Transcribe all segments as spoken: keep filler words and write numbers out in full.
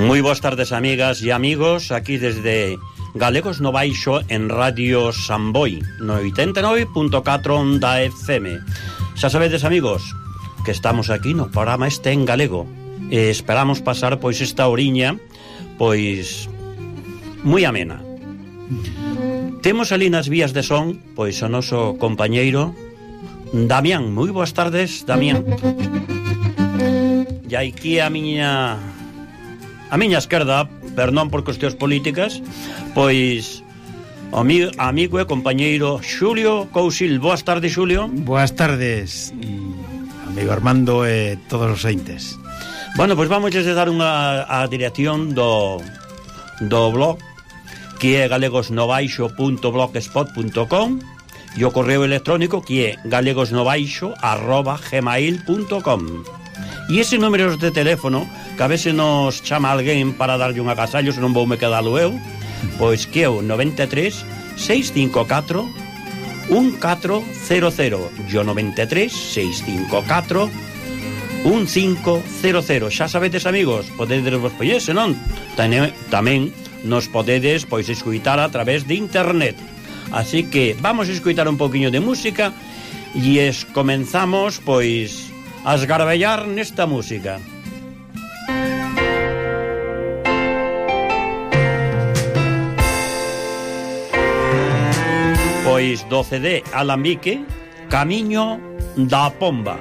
Moi boas tardes, amigas e amigos, aquí desde Galegos no Baixo en Radio Samboy, no oitenta e nove punto catro onda F M. Xa sabedes, amigos, que estamos aquí no programa este en galego e esperamos pasar, pois, esta oriña, pois, moi amena. Temos ali nas vías de son, pois, o noso compañeiro Damián. Moi boas tardes, Damián. E aquí a miña... A miña esquerda, perdón por cuestións políticas, pois o mi, amigo e compañeiro Xulio Cousil. Boas tardes, Xulio. Boas tardes, amigo Armando e todos os entes. Bueno, pois vamos a dar unha a dirección do do blog, que é galegosnobaixo punto blogspot punto com, e o correo electrónico, que é galegosnobaixo arroba gmail punto com. E ese número de teléfono, que a veces nos chama alguén para darlle un agasallo, se non vou me quedalo eu, pois que é o noventa e tres, seiscentos e cincuenta e catro, un catro cero cero, e o noventa e tres, seiscentos e cincuenta e catro, un cinco cero cero. Xa sabedes, amigos, podedes vos poñer, senón tamén nos podedes, pois, escuitar a través de internet. Así que vamos a escuitar un poquinho de música e es comenzamos, pois, a esgarbellar nesta música. Pois do C D Alambique, Camiño da Pomba.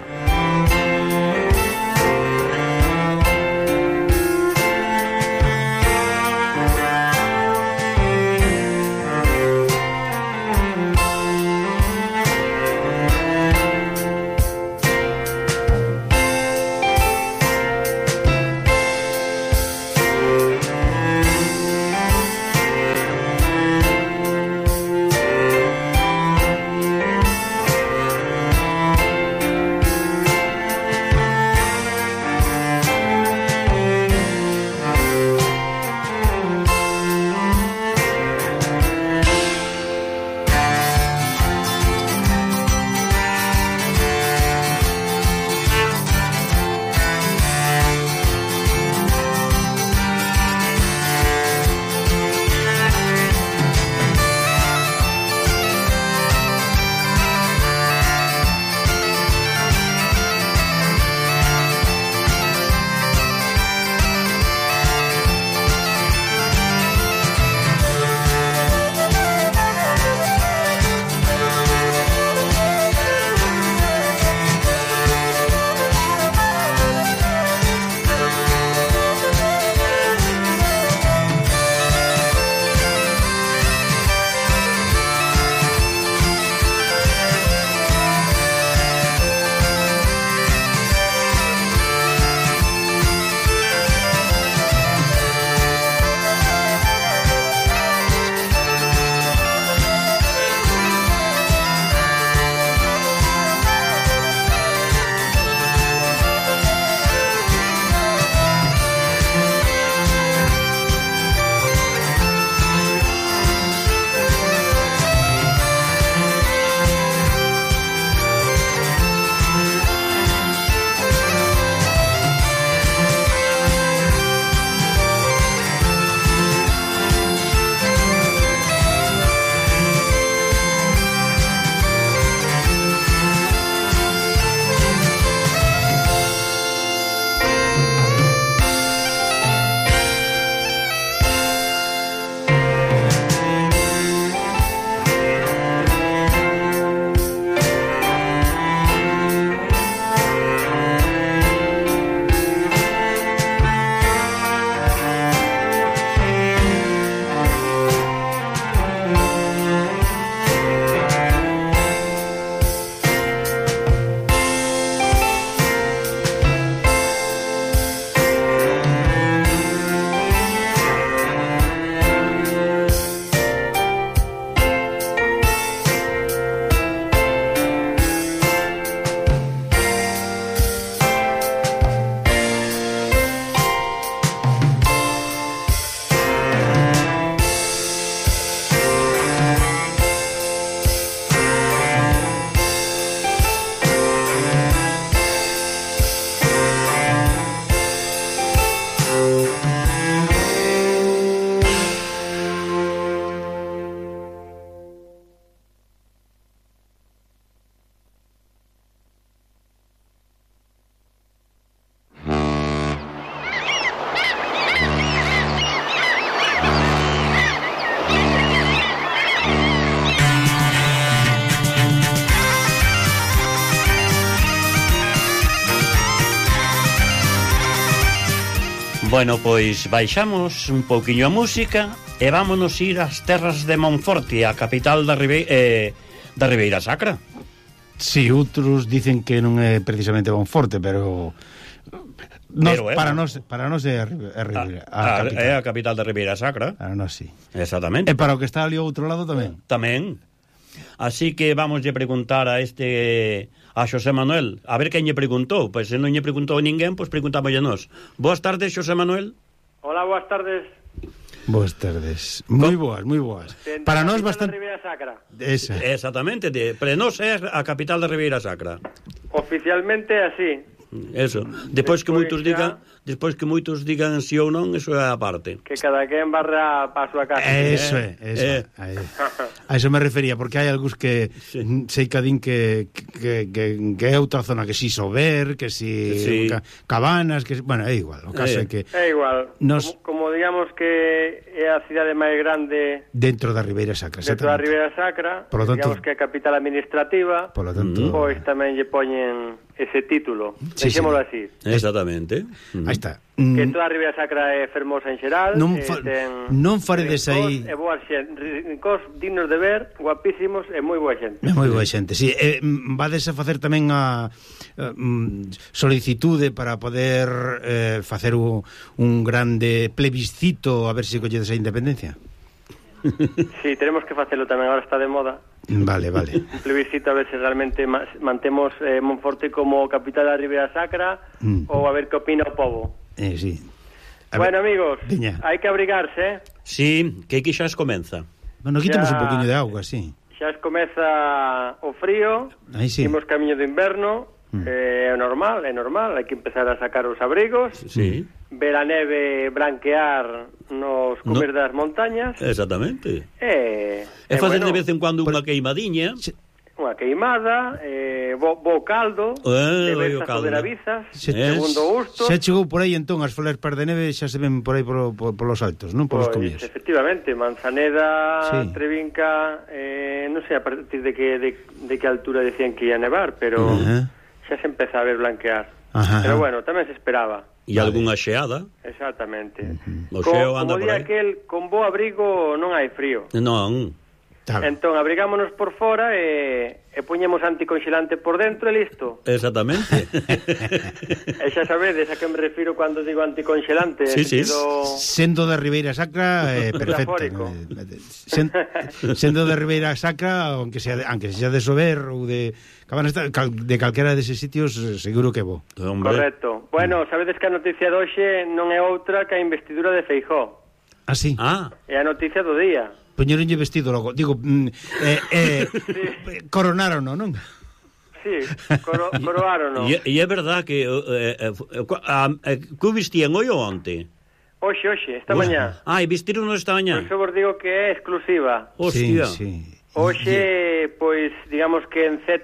Bueno, pois baixamos un pouquiño a música e vámonos ir ás terras de Monforte, a capital da, Ribe eh, da Ribeira Sacra. Si, sí, outros dicen que non é precisamente Monforte, pero... Nos, pero é, para nós para nós é a, a, Ribeira, a, a, a é a capital da Ribeira Sacra. Para nós sí. Exactamente. E para o que está ali ao outro lado tamén. Tamén. Así que vamos a preguntar a este a Xosé Manuel, a ver quen lle preguntou, pois se non lle preguntou ninguén, pois preguntámoslle nós. Boas tardes, Xosé Manuel. Hola, boas tardes. Boas tardes. Moi boas, moi boas. De, para nós bastante Ribeira Sacra. Esa. Exactamente, de, para nós é a capital da Ribeira Sacra. Oficialmente así. Eso. Depois que moitos digan, despois que moitos digan si ou non, eso é a parte. Que cada quen barra para a súa casa. Eso é, eso. Eh. A eso me refería, porque hai algúns que sí. sei cadín que que, que que é outra zona, que si Sober, que si sí. Cabanas, que bueno, é igual, o caso é, é que é igual. Nos... Como, como digamos que é a cidade máis grande dentro da Ribeira Sacra, dentro da Ribeira Sacra, por lo tanto, digamos que é a capital administrativa, por lo tanto, pois tamén lle poñen ese título. Sí, Deixémolo sí. así. Exactamente. Aí está. Que toda a Ribeira Sacra é fermosa en xeral. Non, fa, ten, non faredes aí... É boa xente, rincós dignos de ver, guapísimos e moi boa xente. É moi boa xente, si. Sí. Eh, vades a facer tamén a, a um, solicitude para poder eh, facer un, un grande plebiscito a ver se colledes a independencia? Sí, tenemos que facelo tamén, agora está de moda. Vale, vale. Un plebiscito a ver se realmente mantemos eh, Monforte como capital da Ribeira Sacra mm. ou a ver que opina o povo. Eh, sí. A bueno, ver, amigos, Diña. hai que abrigarse, eh? Sí, que aquí xa es comeza. Bueno, quitamos un poquinho de auga, sí. Xa es comeza o frío, aí sí. Imos camiño do inverno, mm. eh, é normal, é normal, hai que empezar a sacar os abrigos, sí. Ver a neve branquear nos cumes no. das montañas. Exactamente. E, e facer bueno, de vez en cuando unha queimadiña. Unha queimada, eh, bo, bo caldo, eh, de bestas ou de navizas, se, segundo gusto. Xa chegou por aí entón as flepas de neve, xa se ven por aí por, por, por los altos, non? Por pues, os comíos. Efectivamente, Manzaneda, sí. Trevinca, eh, non sei a partir de que, de, de que altura decían que ia nevar, pero uh -huh. xa se empeza a ver blanquear. Ajá. Pero bueno, tamén se esperaba. E vale. Algunha xeada. Exactamente. Uh -huh. O xeo Co, anda como por di aquel, con bo abrigo non hai frío. Non. Entón, abrigámonos por fora e, e poñemos anticonxelante por dentro e listo. Exactamente. E xa sabedes a que me refiro cando digo anticonxelante. Sí, sí. Sentido... Sendo da Ribeira Sacra, eh, perfecto. Sen, sendo da Ribeira Sacra, aunque sea de, aunque sea de Sober ou de Cabanas, de calquera deses sitios, seguro que bo. Hombre. Correcto. Bueno, sabedes que a noticia de hoxe non é outra que a investidura de Feijóo. Ah, sí? Ah. É a noticia do día. Poñeronlle vestido logo. Digo, mm, eh, eh, sí. Coronaron, non? Sí, coro, coroaron. E é verdad que eh, eh, eh, que vestían hoy ou onte? Hoxe, hoxe, esta mañá. Ah, e vestironos esta mañá. Por eso vos digo que é exclusiva. Hostia. Sí, sí. Hoxe, pois, digamos que en Z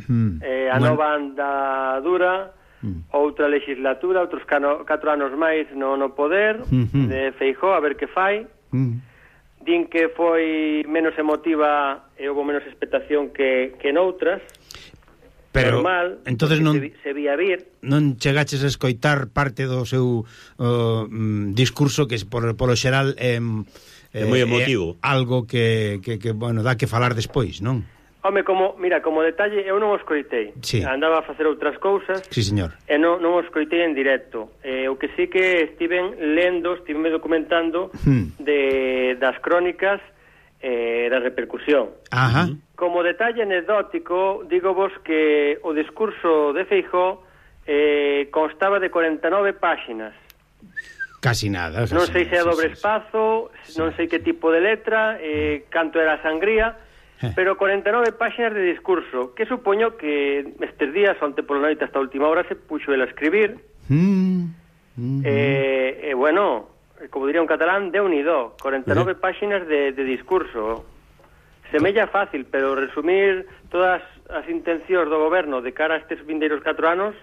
mm. eh, a bueno. nova andadura, mm. outra legislatura, outros cano, catro anos máis no, no poder mm -hmm. de Feijóo, a ver que fai. Mm. Din que foi menos emotiva e houve menos expectación que, que noutras. Pero, normal, entonces non, se, se vía vir. Non chegaches a escoitar parte do seu uh, discurso que por, polo xeral é, é moi emotivo. É algo que, que, que, bueno, dá que falar despois, non? Home, como, mira, como detalle, eu non o escoitei. Sí. Andaba a facer outras cousas. Sí, señor. E non, non o escoitei en directo. Eh, o que sí que estiven lendo, estive documentando hmm. de, das crónicas eh, da repercusión. Ajá. Como detalle anecdótico, digo vos que o discurso de Feijóo eh, constaba de cuarenta e nove páxinas. Casi nada. Casi non sei se é dobre sí, espazo, sí. Non sei que tipo de letra, eh, canto era a sangría, pero cuarenta e nove páxinas de discurso, que supoño que estes días, onte pola noite hasta a última hora, se puxo el a escribir. Mm, mm, eh, eh, bueno, como diría un catalán, de unido, cuarenta e nove eh. páxinas de, de discurso. Semella fácil, pero resumir todas as intencións do goberno de cara a estes vindeiros catro anos,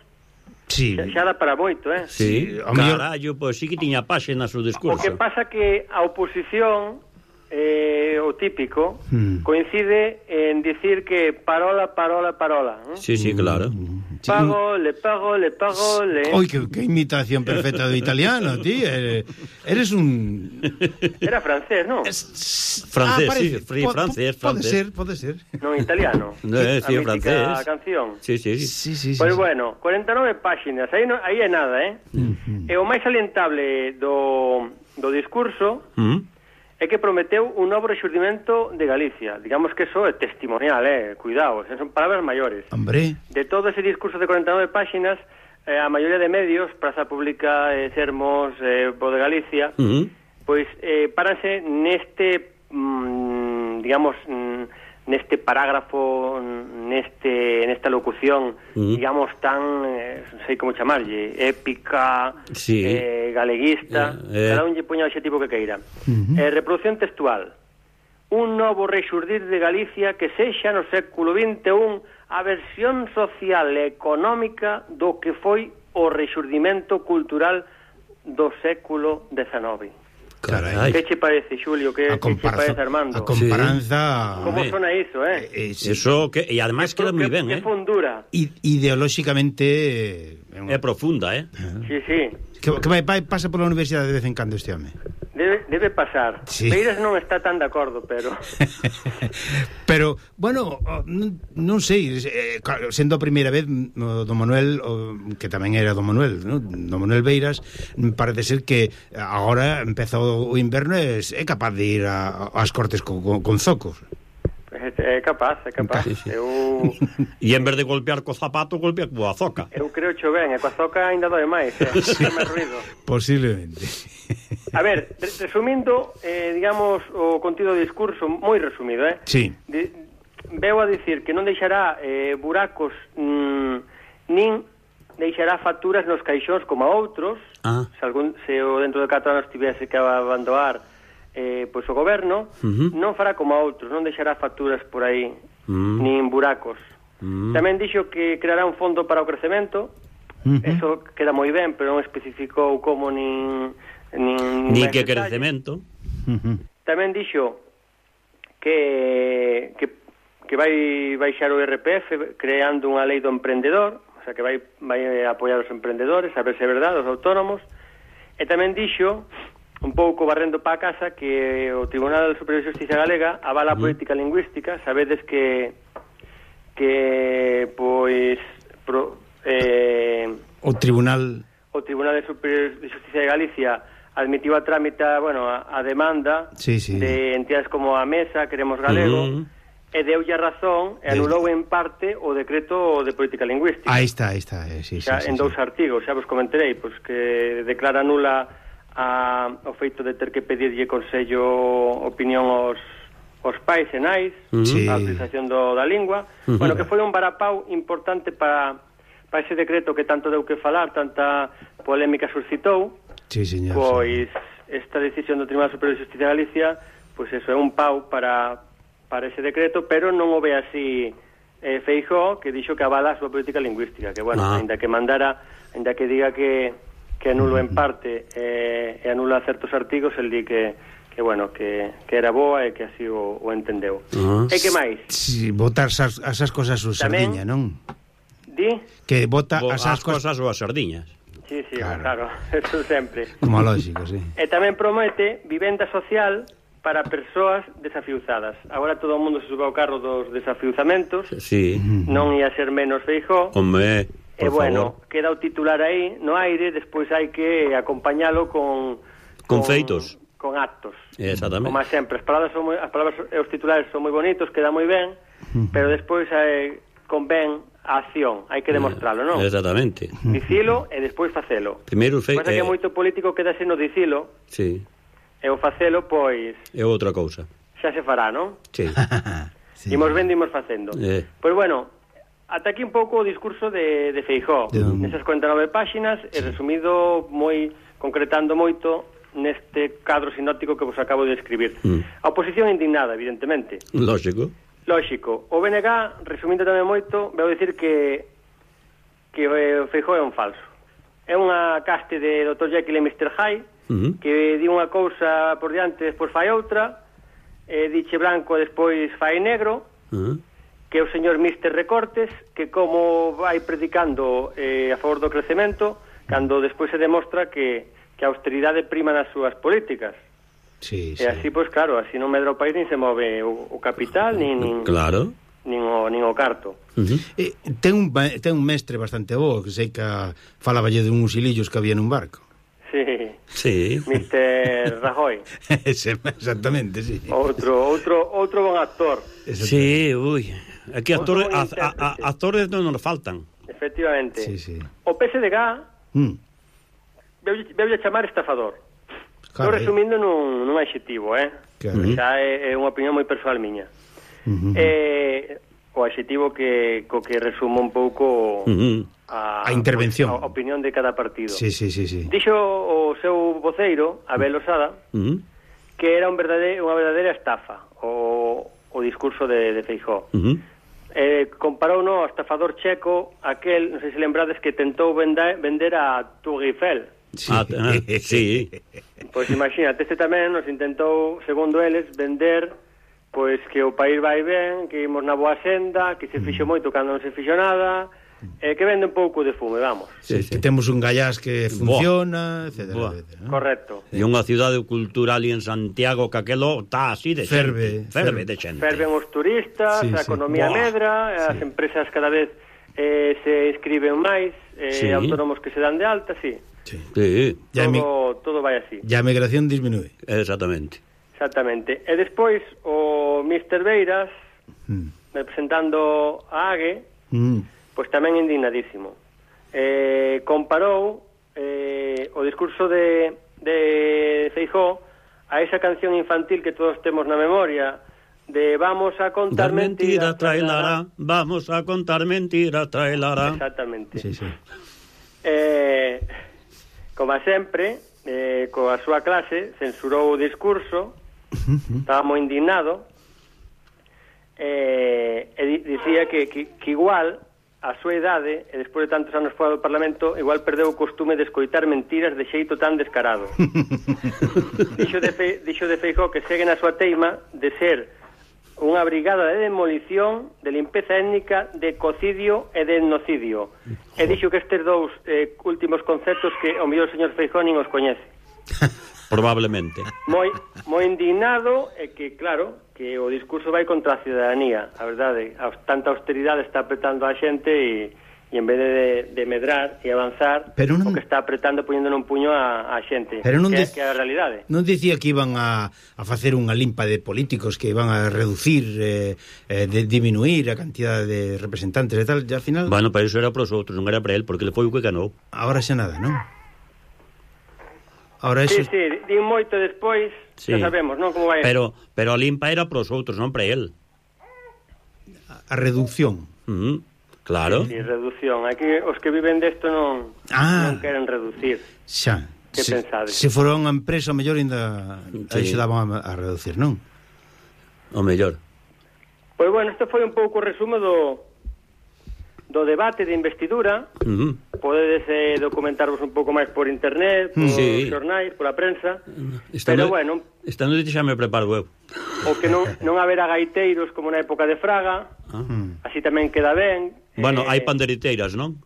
sí. xa, xa dá para moito, eh? Sí, sí. Carallo, pois pues, sí que tiña páxinas o discurso. O que pasa que a oposición... Eh, o típico hmm. coincide en dicir que parola, parola, parola, ¿eh? Sí, sí, claro. Pago, le pago, le pago, le... Oi, que, que imitación perfecta do italiano, ti. Eres, eres un... Era francés, non? Es... Francés, ah, sí, free, po, francés, po, pode francés. ser, pode ser. Non italiano. No, sí, a francés. A canción. Sí, sí. Sí, sí, sí. Pois sí. bueno, cuarenta e nove páxinas, aí, no, aí é nada, eh? Uh-huh. E o máis salientable do, do discurso Uh-huh. é que prometeu un novo rexurdimento de Galicia. Digamos que eso é testimonial, eh? Cuidado, son palabras maiores. Hombre. De todo ese discurso de cuarenta e nove páxinas, eh, a maioría de medios, Praza Pública, eh, Sermos, eh, Voz de Galicia, Uh-huh. pois eh, paranse neste, mm, digamos, mm, neste parágrafo, neste nesta locución, uh-huh. digamos, tan, eh, non sei como chamarlle, épica, sí. eh, galeguista, eh, eh. cada un lle poña o adxetivo que queira. Uh-huh. Eh, reproducción textual. Un novo rexurdir de Galicia que sexa no século vinte e un a versión social e económica do que foi o rexurdimento cultural do século dezenove. Carai. Que che parece, Xulio? Que, que che parece, Armando? A comparanza... Sí. Como sona iso, eh? eh, eh sí. Eso, que, e además queda moi ben, eh? Que fundura. I, ideolóxicamente... Eh, É profunda, eh? Sí, sí. Que, que vai, vai, pasa pola universidade de vez en cando este home. Debe, debe pasar. Sí. Beiras non está tan de acordo, pero... Pero, bueno, non, non sei, eh, sendo a primeira vez o do Manuel, o, que tamén era do Manuel, ¿no? Do Manuel Beiras, parece ser que agora empeza o inverno e é capaz de ir a, ás cortes con, con, con zocos. É capaz, é capaz. Sí, sí. Eu... E en vez de golpear co zapato, golpea coa zoca. Eu creo cho ben, e coa zoca ainda doe máis, eh? Fai máis ruido. Posiblemente. A ver, resumindo, eh, digamos, o contido do discurso, moi resumido, eh? Sí. De, veo a dicir que non deixará eh, buracos mm, nin deixará facturas nos caixóns como a outros, Ah. se, algún, se o dentro de catro anos tivese que abandonar eh, pois o goberno, Uh-huh. non fará como a outros, non deixará facturas por aí, Mm. nin buracos. Mm. Tamén dixo que creará un fondo para o crecemento, Uh-huh. eso queda moi ben, pero non especificou como nin... nin Ni máis que detalles. crecemento. Uh-huh. Tamén dixo que, que, que vai baixar o I R P F creando unha lei do emprendedor, o sea, que vai, vai apoiar os emprendedores, a ver se é verdade, os autónomos. E tamén dixo, un pouco barrendo pa casa, que o Tribunal Superior de Justicia Galega avala a política lingüística. Sabedes que que, pois, pro, eh, O Tribunal... o Tribunal Superior de Justicia de Galicia admitiu a trámite, bueno, a, a demanda Sí, sí. de entidades como a Mesa, Queremos Galego, Mm. e deulle a razón e anulou en parte o decreto de política lingüística. Ahí está, ahí está. Eh, sí, Xa, sí, en sí, dous sí. artigos, xa vos comenterei, pois que declara nula a, o feito de ter que pedirlle consello, opinión aos, aos pais e nais, Sí. a utilización do, da lingua. Uh-huh. Bueno, que foi un varapau importante para, para ese decreto que tanto deu que falar, tanta polémica suscitou. Sí, señor. Pois esta decisión do Tribunal Superior de Justicia de Galicia, pois eso é un pau para, para ese decreto, pero non o ve así eh, Feijóo, que dixo que avala a súa política lingüística, que, bueno, Ah. ainda que mandara, ainda que diga que, que anulo en parte eh, e anula certos artigos, el di que, que bueno, que, que era boa e que así o, o entendeu. Ah. E que máis? Sí, botar esas, esas cosas a Tamén- sardiña, non? Di? Que bota Bo, esas as cosas... cosas ou as sardiñas. Sí, sí, Claro. claro, eso sempre. Como lógico, sí. E tamén promete vivenda social para persoas desafiuzadas. Agora todo o mundo se sube ao carro dos desafiuzamentos, Sí. non ia ser menos Feijóo. Home, E por bueno, favor. queda o titular aí no aire, despois hai que acompañalo con Con feitos. con actos. Exactamente. Como sempre, as palabras son moi, as palabras e os titulares son moi bonitos, queda moi ben, pero despois eh, convén a acción, hai que demostralo, non? Exactamente. Dicilo e despois facelo. Primeiro fe... Pasa que eh, moito político quedase no dicilo Sí, e o facelo, pois, é outra cousa. xa se fará, non? Sí. Sí. Imos vendo, imos facendo. Eh. Pois bueno, ata aquí un pouco o discurso de, de Feijóo. De- Nesas cuarenta e nove páxinas, e resumido moi, concretando moito neste cadro sinóptico que vos acabo de escribir. Mm. A oposición indignada, evidentemente. Lógico. Lógico. O B N G, resumindo tamén moito, vou dicir que que o Feijóo é un falso. É unha caste de doutor Jekyll e mister Hyde, Uh-huh. que di unha cousa por diante, despois fai outra, e diche branco, despois fai negro, Uh-huh. que é o señor mister Recortes, que como vai predicando eh, a favor do crecemento, cando despois se demostra que, que a austeridade prima nas súas políticas. Sí, E sí. así, pois claro, así non medra o país, nin se move o, o capital, nin, nin, Claro. nin, o, nin o carto. Uh-huh. Eh, ten, un, ten un mestre bastante bo, que sei que falaballe de uns hilillos que había nun barco. Sí, Sí. mister Rajoy. Ese, exactamente, sí. Outro, outro, outro bon actor. Sí, ui. Aquí actores, Outro a, bon a, a, intérprete. actores non nos faltan. Efectivamente. Sí, sí. O P S D G Mm. veulle chamar estafador. Estou Carai. resumindo nun, nun adxetivo, eh? Carai. Xa é, é unha opinión moi persoal miña. Uh-huh. Eh, o adxetivo que co que resumo un pouco Uh-huh. a, A intervención. a opinión de cada partido. Sí, sí, sí, sí. Dixo o seu voceiro, Abel Osada, Uh-huh. que era un verdade, unha verdadeira estafa o, o discurso de, de Feijóo. Uh-huh. Eh, comparou no ao estafador checo aquel, non sei se lembrades, que tentou vender, vender a Tour Eiffel. Sí. Ah, ah, sí. Pois imagínate, este tamén nos intentou, segundo eles, vender pois que o país vai ben, que imos na boa senda, que se fixo moito cando non se fixo nada, eh, que vende un pouco de fume, vamos. Sí, Sí, sí. que temos un gallás que funciona, etcétera, Boa. etcétera, ¿no? Correcto. E unha cidade cultural ali en Santiago que aquelo está así de Ferve, xente. Ferve ferve. de xente. Ferven os turistas, Sí, a sí. economía Buah. medra, as empresas cada vez eh, se inscriben máis, eh, Sí. autónomos que se dan de alta, sí. Sí. Sí, Ya mi- Todo, todo vai así. Ya a migración disminúe. exactamente. Exactamente. E despois o mister Beiras, Mm. representando a AGE, Mm. pois tamén indignadísimo. Eh, comparou eh, o discurso de, de Feijóo a esa canción infantil que todos temos na memoria de vamos a contar Dar mentira, mentiras, traelará. Vamos a contar mentira, traelará. Exactamente. Sí, sí. Eh, como sempre, eh, coa súa clase, censurou o discurso, estaba moi indignado, eh, e di- dicía que, que, que igual a súa idade, e despois de tantos anos fora do Parlamento, igual perdeu o costume de escoitar mentiras de xeito tan descarado. dixo, de Fe, dixo de Feijóo que segue na súa teima de ser unha brigada de demolición, de limpeza étnica, de cocidio e de etnocidio. E dixo que estes dous eh, últimos conceptos que o mellor señor Feijóo nin os coñece. Probablemente. Moi moi indignado e que, claro, que o discurso vai contra a ciudadanía. A verdade, a, tanta austeridade está apretando a xente e, e en vez de, de medrar e avanzar, Pero non- o que está apretando poñendo un puño a, a xente. Pero non que, dec- que é a realidade. Non dicía que iban a, a facer unha limpa de políticos, que iban a reducir, eh, eh, de diminuir a cantidad de representantes e tal, e al final, Bueno, para iso era para os outros, non era para él, porque le foi o que ganou. ahora xa nada, non? Ahora Sí, eso... sí, din moito despois, Sí. xa sabemos, non? Como vai. Pero pero a limpa era para os outros, non para él. A reducción. Uh-huh. Claro. Sí, reducción. Aquí os que viven desto non, Ah. non queren reducir. Xa. Que se, pensades? se fora unha empresa, o mellor ainda Sí. axudaban a, a reducir, non? O mellor. Pois bueno, isto foi un pouco o resumo do, do debate de investidura. Uh-huh. Podedes eh, documentarvos un pouco máis por internet, por Sí. xornais, pola prensa. Estando, Pero bueno, esta noite xa me preparo eu. o que non, non haberá gaiteiros como na época de Fraga, Ah. Mm. así tamén queda ben. Bueno, Eh, hai panderiteiras, non?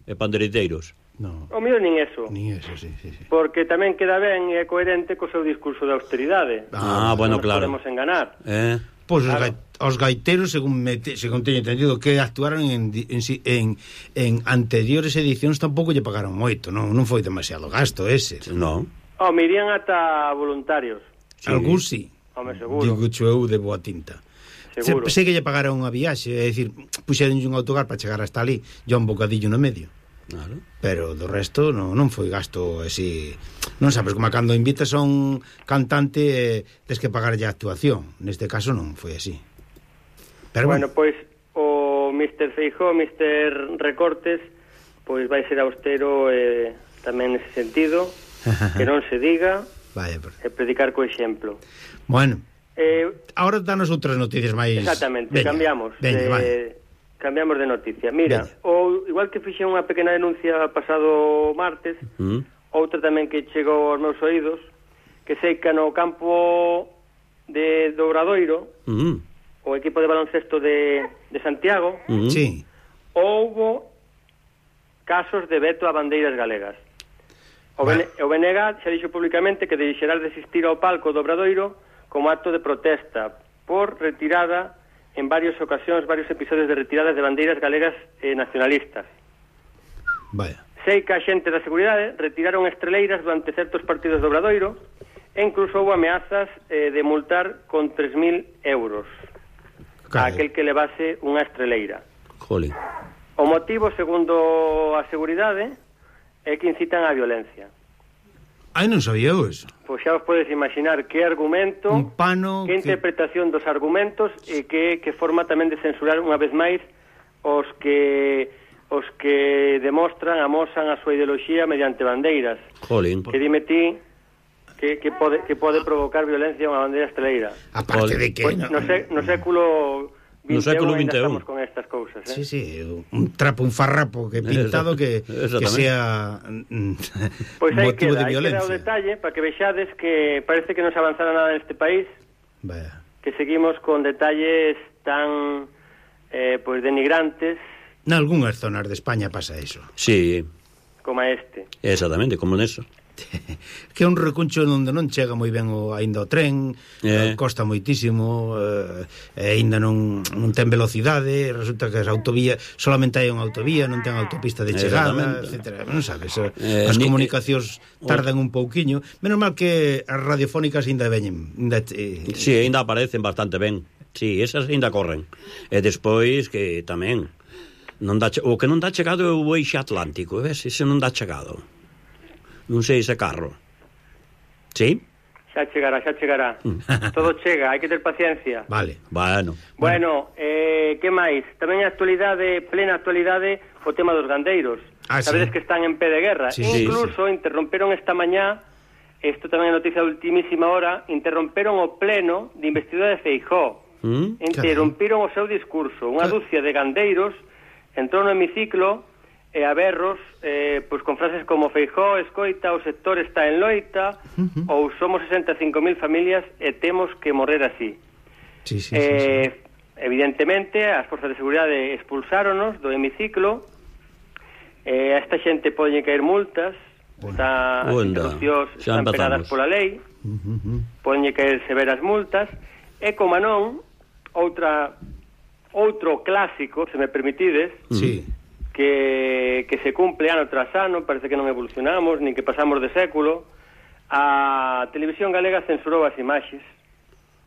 E panderiteiros. No. O mío nin eso, Ni eso, sí, sí, sí. porque tamén queda ben e é coherente co seu discurso de austeridade. Ah, bueno, Non nos claro. podemos enganar. Eh? Pois os, Claro. gai, os gaiteros, según, me te, según teño entendido, que actuaron en, di- en, si- en, en anteriores edicións tampouco lle pagaron moito, non, non foi demasiado gasto ese. Non. Oh, me irían ata voluntarios, Sí. Algún sí. home, seguro. Digo cho eu de boa tinta. Seguro. Se, sei que lle pagaron unha viaxe, é dicir, puxeronlle un autocar para chegar hasta ali, e un bocadillo no medio. Claro. Pero do resto non, non foi gasto así. Non sabes, como cando invitas a un cantante, eh, tes que pagarlle a actuación. Neste caso non foi así. Pero Bueno, bueno, pois o mister Feijóo, mister Recortes, pois vai ser austero eh, tamén nese sentido, que non se diga, vaya, por... e predicar co exemplo. Bueno, Eh, ahora danos outras noticias máis. exactamente, Veña, cambiamos. Veña, de, vale. Cambiamos de noticia. Mira, Veña. o, igual que fixen unha pequena denuncia pasado martes, Mm. outra tamén que chegou aos meus oídos, que sei que no campo de do Obradoiro, Mm. o equipo de baloncesto de, de Santiago, uh-huh. sí. houbo casos de veto a bandeiras galegas. O, bueno. o B N G xa dixo públicamente que deixará de asistir ao palco do Obradoiro como acto de protesta por retirada en varias ocasións, varios episodios de retiradas de bandeiras galegas eh, nacionalistas. Vaya. Sei que a xente da seguridade retiraron estreleiras durante certos partidos do Obradoiro e incluso houve ameazas eh, de multar con tres mil euros a aquel que levase unha estreleira. Jolín. O motivo, segundo a seguridade, é que incitan á violencia. Ai, non sabía eu eso. Pois xa os podes imaginar que argumento, un pano, que interpretación que... dos argumentos e que, que forma tamén de censurar unha vez máis os que os que demostran, amosan a súa ideoloxía mediante bandeiras. Jolín. Que dime ti que, que, pode, que pode provocar violencia unha bandeira esteleira. Aparte de que... Pues, no, no, sé, no século no século vinte e un estamos con estas cousas, eh? Sí, sí, un trapo, un farrapo que pintado que, que sea pues motivo queda, de violencia. Pois aí queda o detalle para que vexades que parece que non se avanzara nada neste país. Vaya. Que seguimos con detalles tan eh, pues denigrantes. Nalgúnas zonas de España pasa eso. Sí. Como este. Exactamente, como neso. Que é un recuncho onde non chega moi ben o, aínda o tren, eh. costa moitísimo, eh, e aínda non, non ten velocidade, resulta que as autovías solamente hai unha autovía, non ten autopista de chegada, etcétera. Non sabes, eh, as ni, comunicacións tardan un pouquiño, menos mal que as radiofónicas aínda veñen. Ainda, eh, sí, aínda aparecen bastante ben. Sí, esas aínda corren. E despois que tamén non dá, o que non dá chegado é o Eixo Atlántico, ves? Ese non dá chegado. Non sei ese carro. Sí? Xa chegará, xa chegará. Todo chega, hai que ter paciencia. Vale. Bueno. Bueno, eh, que máis? Tamén a actualidade, plena actualidade, o tema dos gandeiros. Ah, Sabedes sí. que están en pé de guerra. Sí, Incluso sí, sí. interromperon esta mañá, isto tamén é noticia de ultimísima hora, interromperon o pleno de investidura de Feijóo. ¿Mm? Interrompiron o seu discurso. Unha dúcia de gandeiros entrou no hemiciclo e a berros, eh, pois con frases como Feijóo escoita, o sector está en loita, uh-huh. ou somos sesenta e cinco mil familias e temos que morrer así. Sí, sí, eh, sí, sí. Evidentemente, as forzas de seguridade expulsáronos do hemiciclo, eh, a esta xente poden caer multas, bueno. Está, as interrupcións están penadas pola lei, uh-huh. poden caer severas multas, e como non, outra outro clásico, se me permitides, sí. que, que se cumple ano tras ano, parece que non evolucionamos, nin que pasamos de século. A Televisión Galega censurou as imaxes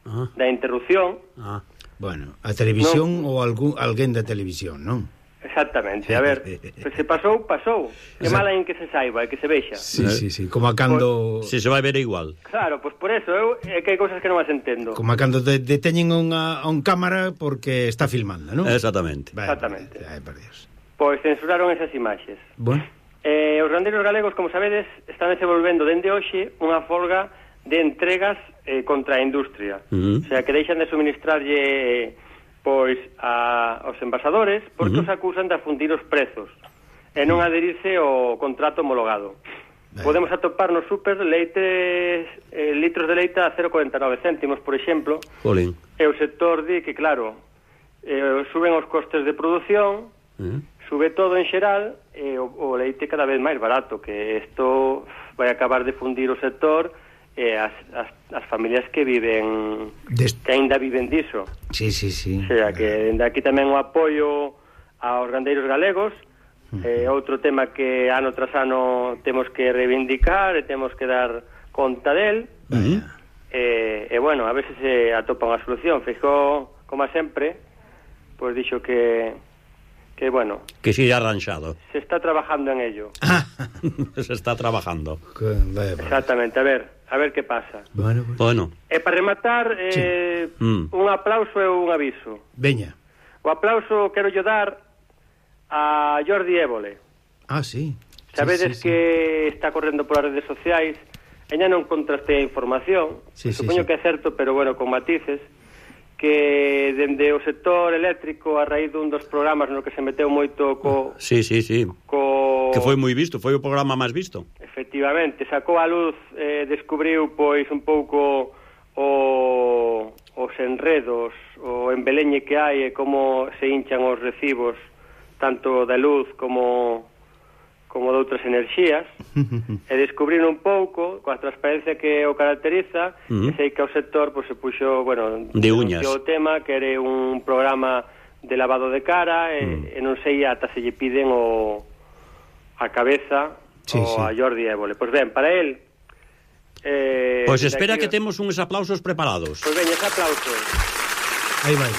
ah. da interrupción. Ah. Bueno, a televisión no. ou algún, alguén da televisión, non? Exactamente, a ver, pues se pasou, pasou. Que mala en que se saiba, e que se vexa. Sí, sí, sí, como a cando... Pues, si se vai ver igual. Claro, pois pues por eso, eu, é que hai cousas que non as entendo. Como a cando de, deteñen unha, a un cámara porque está filmando, non? Exactamente. Vale, Exactamente. Ay, por Dios. Pois censuraron esas imaxes. Bueno. Eh, os gandeiros galegos, como sabedes, están desenvolvendo dende hoxe unha folga de entregas eh, contra a industria. Uh-huh. O sea, que deixan de suministrarlle pois a, aos envasadores porque uh-huh. os acusan de afundir os prezos e non adherirse ao contrato homologado. Vale. Podemos atopar no súper leites, eh, litros de leite a cero vírgula cuarenta e nove céntimos, por exemplo. Jolín. E o sector di que, claro, eh, suben os costes de produción, uh-huh. sube todo en xeral, e o, o leite cada vez máis barato, que isto vai acabar de fundir o sector e as, as, as familias que viven Dest... que aínda viven diso. Sí, sí, sí. O sea, que dende aquí tamén o apoio aos gandeiros galegos. Uh-huh. Eh, outro tema que ano tras ano temos que reivindicar e temos que dar conta del. Uh-huh. E, e bueno, a ver se se atopa unha solución. Feijóo, como sempre, pois dixo que que bueno, que sigue arranxado. Se está trabajando en ello. Se está trabajando. Exactamente, a ver, a ver que pasa. Bueno, pues. bueno. E para rematar, eh, sí. mm. un aplauso e un aviso. Veña. O aplauso quero yo dar a Jordi Évole. Ah, sí. Sabedes sí, sí, que sí. está correndo polas redes sociais. Ella non contraste a información. Sí, Supoño sí, sí. que é certo, pero bueno, con matices. Que dende o sector eléctrico a raíz dun dos programas no que se meteu moito co... Sí, sí, sí. Co... Que foi moi visto, foi o programa máis visto. Efectivamente, sacou a luz, eh, descubriu pois un pouco o, os enredos, o embeleñe que hai e como se hinchan os recibos tanto da luz como como de outras enerxías, e descubrir un pouco, coa transparencia que o caracteriza, uh-huh. e sei que o sector pues, se puxo, bueno, de uñas. O tema, que era un programa de lavado de cara, e, uh-huh. e non sei ata se lle piden o a cabeza sí, o sí. a Jordi Évole. Pois ben, para él... Eh, pois espera aquí... que temos uns aplausos preparados. Pois ben, ese aplauso. Aí vai.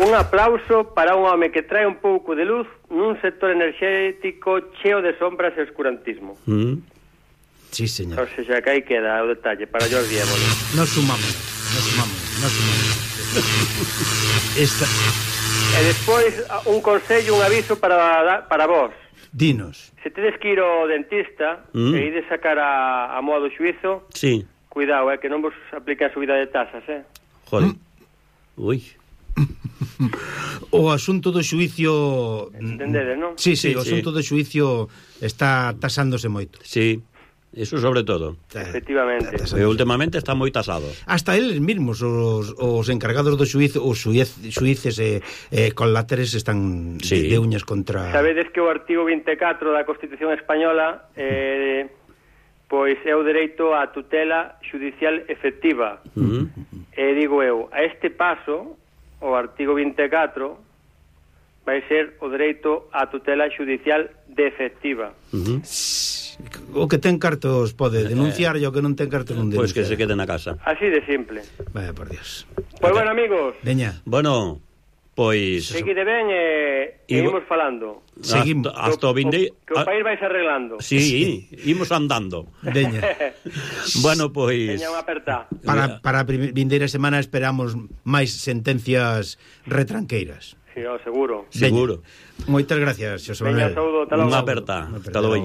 Un aplauso para un home que trae un pouco de luz nun sector enerxético cheo de sombras e oscurantismo. Mm. Sí, señor. O sea, que aí queda o detalle para Jordi Évole. Nos sumamos, nos sumamos, nos sumamos. Esta... E despois un consello, un aviso para para vos. Dinos. Se tedes que ir ao dentista mm. e ides sacar a, a moa do xuizo, sí. Cuidado, eh, que non vos aplica a subida de tasas, eh? Joder. Mm. Ui. O asunto do xuicio... Entendedes, non? Sí, sí, sí, o asunto sí. do xuicio está tasándose moito. Sí, eso sobre todo. Efectivamente. E últimamente está moi tasado. Hasta eles mesmos, os, os encargados do xuizo, os xuiz, xuíces e eh, coláteres están sí. de, de uñas contra... Sabedes que o artigo vinte e catro da Constitución Española eh, pois é o dereito á tutela xudicial efectiva. Uh-huh. E digo eu, a este paso... o artigo vinte e catro vai ser o dereito á tutela xudicial de efectiva. Uh-huh. O que ten cartos pode denunciar e o que non ten cartos non denunciar. Pois pues que se quede na casa. Así de simple. Vaya por Dios. Pois pues bueno, amigos. Veña. Bueno, pois... Seguide ben e, e imos falando. Seguimos. Hasta o vinde... Que o país vais arreglando. Sí, sí, imos andando. Veña. Bueno, pois... Veña unha aperta. Para, para a vindeira semana esperamos máis sentencias retranqueiras. Sí, oh, seguro. Seguro. Moitas gracias, Xosé Manuel. Veña, saúdo, Unha aperta. Hasta logo.